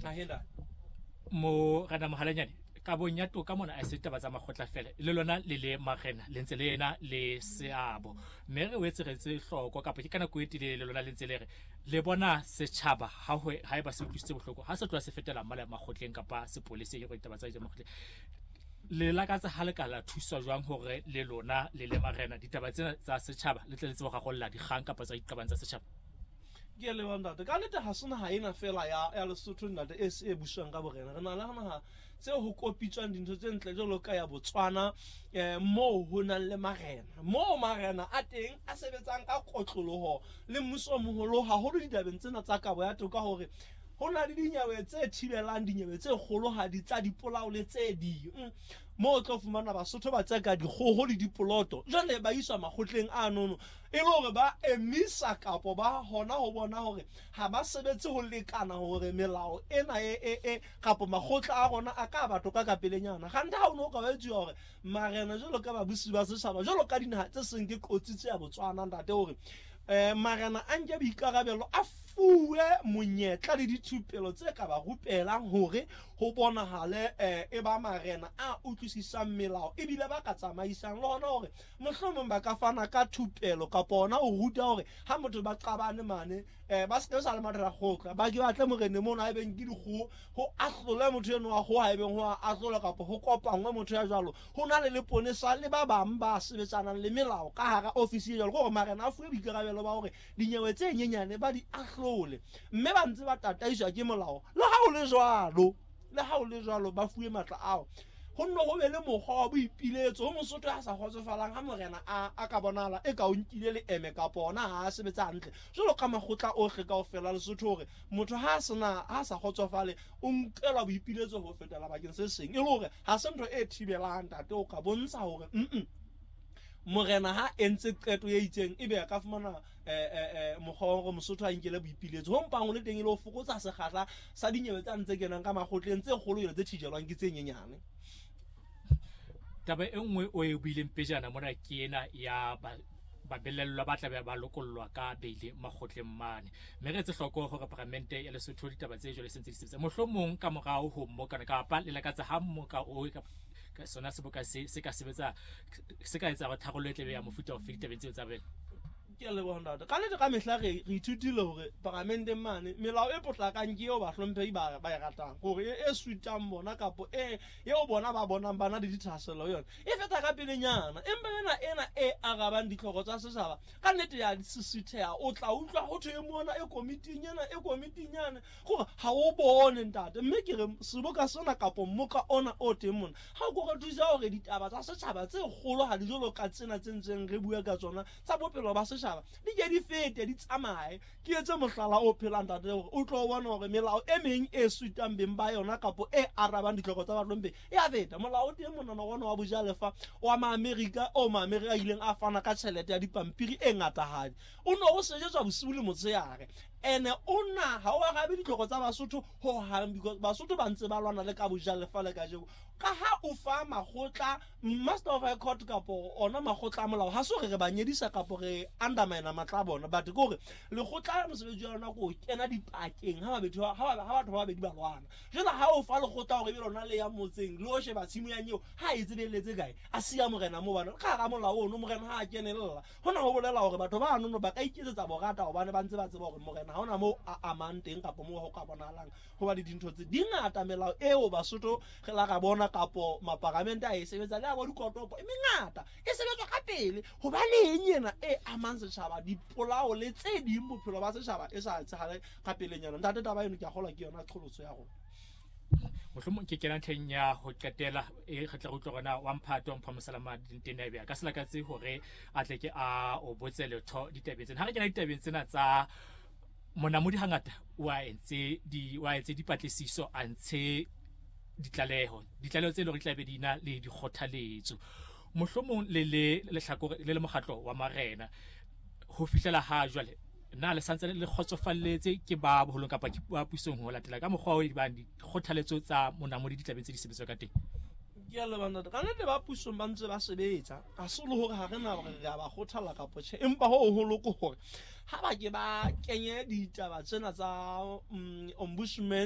Ahena. Morena Mohalanyane, kabong ya toka mona a se taba tsa makgotla fela, le lona le le marena le ntse le ena le seabo, mme re wetse re tse hloko kapa ke ka nako e telele le lona le ntse le re le bona setjhaba ha ho ha eba se utlwisitse bohloko ha se tloha se fetela male makgotleng kapa sepoleseng go ditaba tsa makgotleng. Le lakatsa ha le ka la thuswa jwang hore le lona le le marena ditaba tsena tsa setjhaba le tle le tsebe go rarolla dikgang kapa tsa diqabang tsa setjhaba? Ke a leboha, ntate. Ka nnete ha se naha ena fela ya ya Lesotho, ntate, e e buswang ka borena. Re na le naha tse ho kopitswang dintho tse ntle jwalo ka ya Botswana, moo ho nang le marena, moo marena a teng a sebetsang ka kotloloho le mmuso o moholo haholo ditabeng tsena tsa kabo ya toka, hore ho na le dinyewe tse thibelang dinyewe tse kgolohadi tsa dipolao le tse ding, moo o tlo fumana Basotho ba tseka dikgoho le dipoloto, jwale ba iswa makgotleng a nono e le hore ba emisa kapo ba hona ho bona hore ha ba sebetse ho lekana, hore melao ena e kapo makgotla a rona a ka ba toka ka pelenyana. Gante ha o ne o ka ba etsuwa hore marena jwalo ka babusi ba setjhaba, jwalo ka dinaha tse seng ke qotsi tse ya Botswana, ntate, hore marena a nke boikarabelo, a fuwe monyetla le dithupelo tse ka ba rupelang hore ho bonahale e ba marena a utlwisisang melao ebile ba ka tsamaisang, le hona hore mohlomong ba ka fana ka thupelo kapa hona ho ruta hore ha motho ba qabane mane, ba se ke sa le mathata kgotla, ba ke batle morene mono, ha ebeng ke dikgoho, ho ahlole motho eno wa kgoho, ha ebeng ho a ahlolwa kapa ho kopangwe motho ya jwalo, ho na le leponesa le ba bang ba sebetsanang le melao ka hara ofisi e jwalo, ke hore marena a fuwe boikarabelo ba hore dinyewe tse nyenyane ba di ahlole, mme ba ntse ba tataiswa ke molao. Le ha o le jwalo, le ha o le jwalo, ba fuwe matla ao, ho nne ho be le mokgwa wa boipiletso ho Mosotho a sa kgotsofalang ha morena a ka bonahala e ka o nkile leeme kapa ona ha a sebetsa hantle jwalo ka makgotla ohle kaofela Lesotho, hore motho ha a sena ha a sa kgotsofale o nkelwa boipiletso ho fetela bakeng se seng, e le hore ha se ntho e thibelang, ntate, o ka bontsha hore morena ha entse qeto e itseng, ebe a ka fumana mokgwa wa hore Mosotho a nkele boipiletso ho mpang ho le teng, e le ho fokotsa sekgahla sa dinyewe tsa ntse kenang ka makgotleng tse kgolo jwale tse thijelwang ke tse nyenyane. Taba e nngwe o e buileng pejana mona ke ena ya babelellwa ba tlabe ba lokollwa ka beile makgotleng mane, mme re etse hloko hore paramente ya Lesotho ditaba tse jwale se ntse di sebetsa, mohlomong ka morao ho mmokana kapa le lakatsa ha mmoka o ka sona seboka se ka sebetsa, se ka etsa hore tharollo e tlabe ya mofuta ofe ditabeng tseo tsa bele? Ke a leboha, ntate. Ka nnete ka mehla re ithutile hore paramenteng mane melao e potlakang ke eo bahlomphehi ba e ratang, hore e sutang bona kapo e eo bona ba bonang ba na le dithahasello yona e feta ka pelenyana, empa ena e arabang ditlhoko tsa setjhaba ka nnete ya sisitheha. O tla utlwa ho thwe e mona e komiting ena, e komiting yane, gore ha o bone, ntate. Mme ke re seboka sena kapo mmoka ona o teng mona ha o ko re thusa hore ditaba tsa setjhaba tse kgolo ha di jwalo ka tsena tse ntseng re bua ka tsona tsa bophelo ba setjhaba di ke di fete, di tsamaye. Ke etse mohlala o phelang, ntate, hore o tlo bona hore melao e meng e sutang beng ba yona kapo e arabang ditlhoko tsa bahlomphei e a feta. Molao o teng monana ona wa bojalefa wa Maamerika, o Maamerika a ileng a fana ka tjhelete ya dipampiri e ngatahadi, o ne o sejetswa bosiu le motshehare, ene o na ha o arabe ditlhoko tsa Basotho ho hang, because Basotho ba ntse ba lwana le ka bojalefa le kajeko. Ka ha o fa makgotla, Master of High Court kapo ona makgotla a molao, ha se hore re ba nyedisa kapo re undermine matla a bona, but ke hore lekgotla mosebetsi wa lona ke ho kena dipakeng ha batho ba babedi ba lwana. Jwale ha o fa lekgotla hore ebe lona le ya motseng le o sheba tshimo ya nyeo ha e tsebeletse kae, a siya morena moo, bana ka hara molao ono morena ha a kenella, hona ho bolela hore batho ba nono ba ka iketsetsa borata, hobane ba ntse ba tseba hore morena ha hona moo a amang teng kapo moo ho ka bonahalang ho ba le dintho tse dingata. Melao eo Basotho re la ra bona kapo maparamente a e sebetsa le a bo dikotopo e mengata e sebetswa ka pele, hobaneng ena e amang setjhaba, dipolao le tse ding, bophelo ba setjhaba, e sa etsahale ka pelenyana, ntate? Taba eno ke a kgolwa ke yona qholotso ya rona. Mohlomong ke kena ntlheng ya ho qetela e re tla re utlwa rona wa mphato mpha mosalama dintene ebe a ka se lakatse hore a tle ke a o botse letho ditabeng tsena. Ha re kena ditabeng tsena tsa monamodi, hangata wa etse dipatlisiso, a ntshe ditlaleho tse leng hore di tla be di na le dikgothaletso, mohlomong le le lehlakore le le mokgatlo wa marena, ho fihlela ha jwale na le santse le kgotsofalletse ke ba boholong kapa ke ba pusong ho latela ka mokgwa o bang dikgothaletso tsa monamodi di tlabeng tse di sebetswa ka teng? Ke a leboha, ntate. Ka nnete ba pusong ba ntse ba sebetsa, ha se le hore ha re na hore re a ba kgothalla kapo tjhe, empa ho hoholo ke hore ha ba ke ba kenye ditaba tsena tsa ombudsman.